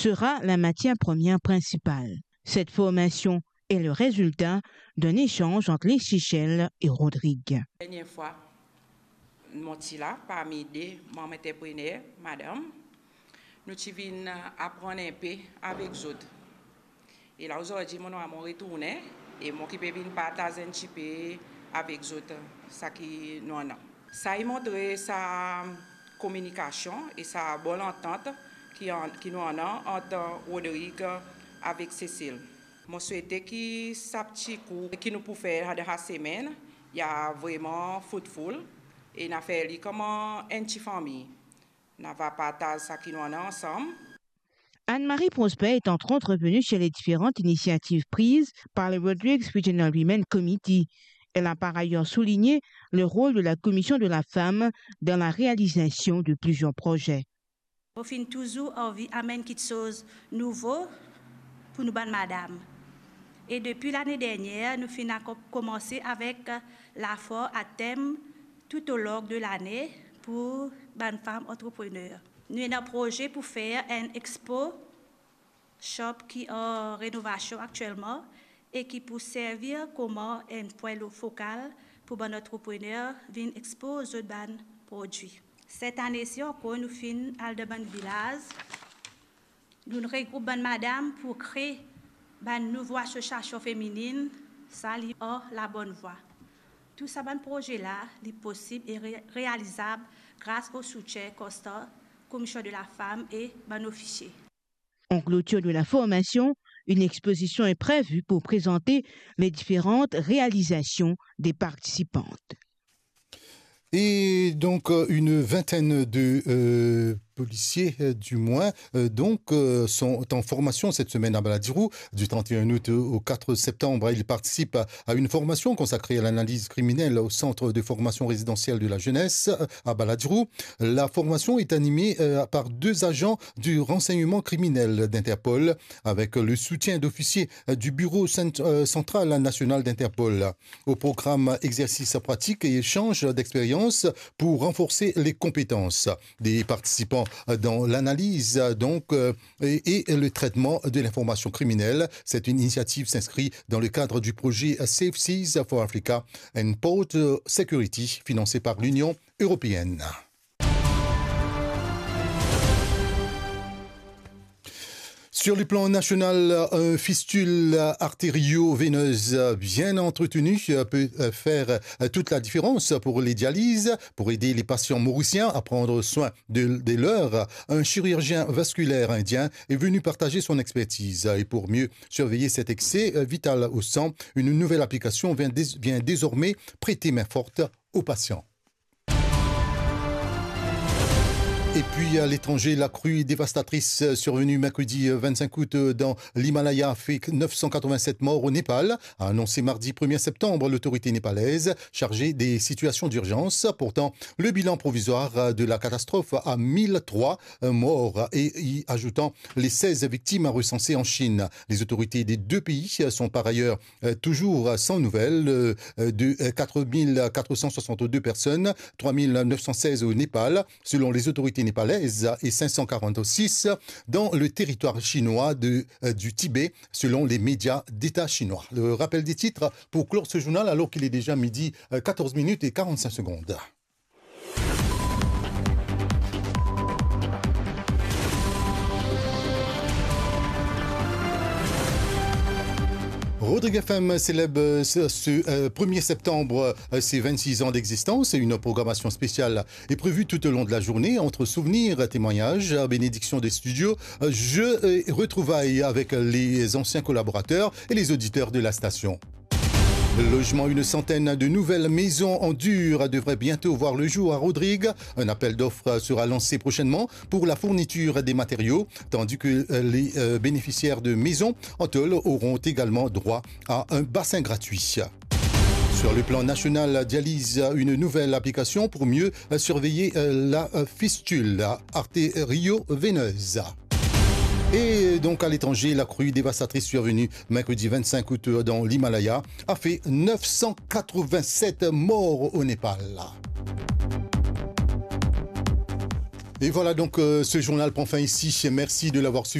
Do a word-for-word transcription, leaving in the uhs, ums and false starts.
sera la matière première principale. Cette formation est le résultat d'un échange entre les Seychelles et Rodrigue. Dernière fois, mo ti la parmi de manm antreprener, madam, nou ti vinn aprann inpe avek zot. E la, ozordi, mo normal mo retourne, e mo ki pe vinn partaz enn tipe avek zot seki nou annan. Sa inn montre sa kominikasion e sa bon lantant ki an-, ki nou annan ant Rodrigue avek Cécile. Mo swete ki sa pti kour ki nou pou fer dan sa semenn, inn a vreman fruitful, e inn a fer li kouma enn ti fami. Nou ava partaz seki nou annan ansam. Anne-Marie Prosper est entre autres venue sur les différentes initiatives prises par le Rodrigues Regional Women Committee. Elle a par ailleurs souligné le rôle de la Commission de la Femme dans la réalisation de plusieurs projets. Mo finn touzour anvi amenn kiksoz nouvo pou nou bann madam. E depi lane dernier, nou finn a ko-, koumanse avek lafor a tem Tout au long de lane pou bann fam antreprener. Nou ena proze pou fer enn expo shop ki an renovasion aktielman e ki pou servi kouma enn pwin lo-, fokal pou bann antreprener vinn expoz zot bann prodwi. Set ane si ankor nou finn al dan bann vilaz, nou regroup bann madam pou kre bann nouvo asosiasion feminin, sa li ar labonn vwa. Tou sa bann proze la, li posib e re-, realizab gras o soutien konstan Commission de la Femme e bann ofisie. En clôture de la formation, une exposition est prévue pour présenter les différentes réalisations des participantes. Et donc, euh, une vingtaine de, euh, policiers, euh, du moins, euh, donc, euh, sont en formation cette semaine à Baladiro. Du trente et un août au quatre septembre, ils participent à, à une formation consacrée à l'analyse criminelle au centre de formation résidentielle de la jeunesse, euh, à Baladiro. La formation est animée, euh, par deux agents du renseignement criminel d'Interpol, avec le soutien d'officiers, euh, du Bureau cent-, euh, central national d'Interpol. Au programme, exercices pratiques et échanges d'expériences pour renforcer les compétences des participants dans l'analyse, donc, euh, et, et le traitement de l'information criminelle. Cette initiative s'inscrit dans le cadre du projet Safe Seas for Africa and Port Security, financé par l'Union européenne. Sur le plan national, une fistule artério-veineuse bien entretenue peut faire toute la différence pour les dialyses. Pour aider les patients mauriciens à prendre soin de, de leurs, un chirurgien vasculaire indien est venu partager son expertise. Et pour mieux surveiller cet excès vital au sang, une nouvelle application vient dés-, vient désormais prêter main forte aux patients. Et puis à l'étranger, la crue dévastatrice survenue mercredi vingt-cinq août dans l'Himalaya a fait neuf cent quatre-vingt-sept morts au Népal, a annoncé mardi premier septembre l'autorité népalaise chargée des situations d'urgence, portant le bilan provisoire de la catastrophe à mille trois morts et y ajoutant les seize victimes recensées en Chine. Les autorités des deux pays sont par ailleurs euh, toujours sans nouvelles, euh, de, euh, quatre mille quatre cent soixante-deux personnes, trois mille neuf cent seize au Népal, selon les autorités népalaises, et cinq cent quarante-six dans le territoire chinois de, euh, du Tibet, selon les médias d'État chinois. Le rappel des titres pour clore ce journal, alors qu'il est déjà midi, euh, quatorze minutes et quarante-cinq secondes. Rodrigue F M célèbre ce, ce, euh, premier septembre, euh, ses vingt-six ans d'existence et une programmation spéciale est prévue tout au long de la journée entre souvenirs, témoignages, bénédiction des studios, euh, jeux et retrouvailles avec les anciens collaborateurs et les auditeurs de la station. Logement, une centaine de nouvelles maisons en dur devraient bientôt voir le jour à Rodrigue. Un appel d'offres sera lancé prochainement pour la fourniture des matériaux, tandis que, euh, les, euh, bénéficiaires de maisons en tôle auront également droit à un bassin gratuit. Sur le plan national, dialyse, une nouvelle application pour mieux, euh, surveiller, euh, la, euh, fistule artério-veineuse. Et donc à l'étranger, la crue dévastatrice survenue mercredi vingt-cinq août dans l'Himalaya a fait neuf cent quatre-vingt-sept morts au Népal. Et voilà donc, euh, ce journal prend fin ici. Merci de l'avoir suivi.